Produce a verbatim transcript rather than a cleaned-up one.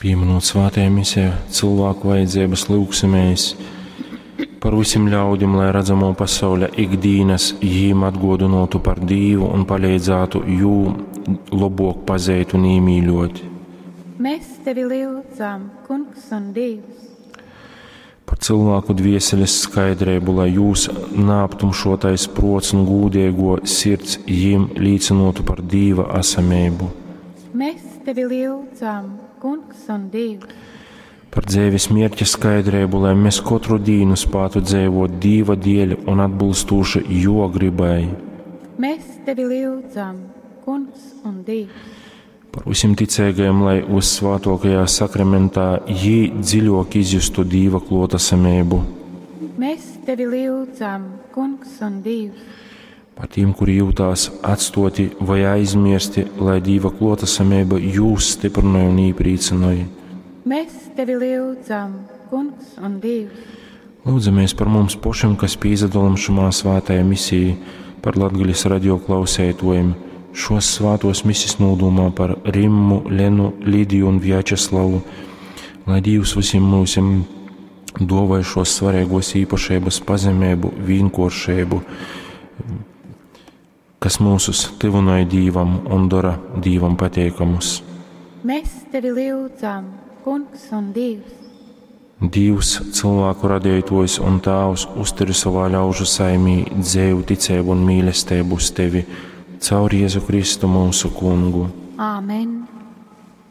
Pīminot svētajā misē cilvēku vajadzības, lūgsimies par visiem ļaudim, lai redzamo pasauļa ikdienas jīm atgodynotu par Dīvu un paleidzātu jū lobok pazeit un īmīļot. Mēs tevi lyudzam, Kungs un Dievs. Par cilvēku dvieseles skaidrību, lai jūs naaptumšotais prots un gūdīgo sirds jīm līcinotu par Dīva esamību. Mēs tevi lyudzam, Kungs un Dievs. Par dzīves mērķa skaidrību, lai mēs katru dienu spētu dzīvot Dīva dēļ un atbilstoši jo gribai. Mēs tevi lyudzam, Kungs un Dievs. Par visiem ticīgajiem, lai uzsvētokajā sakramentā jī dziļok izjustu Dīva klotasamību. Mēs tevi lyudzam, Kungs un Dievs. Par tiem, kuri jūtās atstoti vai aizmirsti, lai Dīva klotasamība jūs stiprināja un īprīcināja. Mēs tevi lyudzam, Kungs un Dievs. Lūdzamies par mums pašiem, kas pīzadalam šumā svētajā misijā, par Latgaļas radio klausētojiem, šos svētos misis nūdumā par Rimmu, Lenu, Lidiju un Vjačeslavu, lai Dievs visiem mūsim dovai šos svarīgos īpašības pazemību, vienkāršību, kas mūsus tyvināja Dīvam un dara Dīvam pateikamus. Mēs tevi lyudzam, Kungs un Dievs. Dievs, cilvēku radītājs un Tēvs, uzturi savā ļaužu saimī dzēju, ticību un mīlestību uz tevi, caur Jēzu Kristu mūsu kungu. Āmen.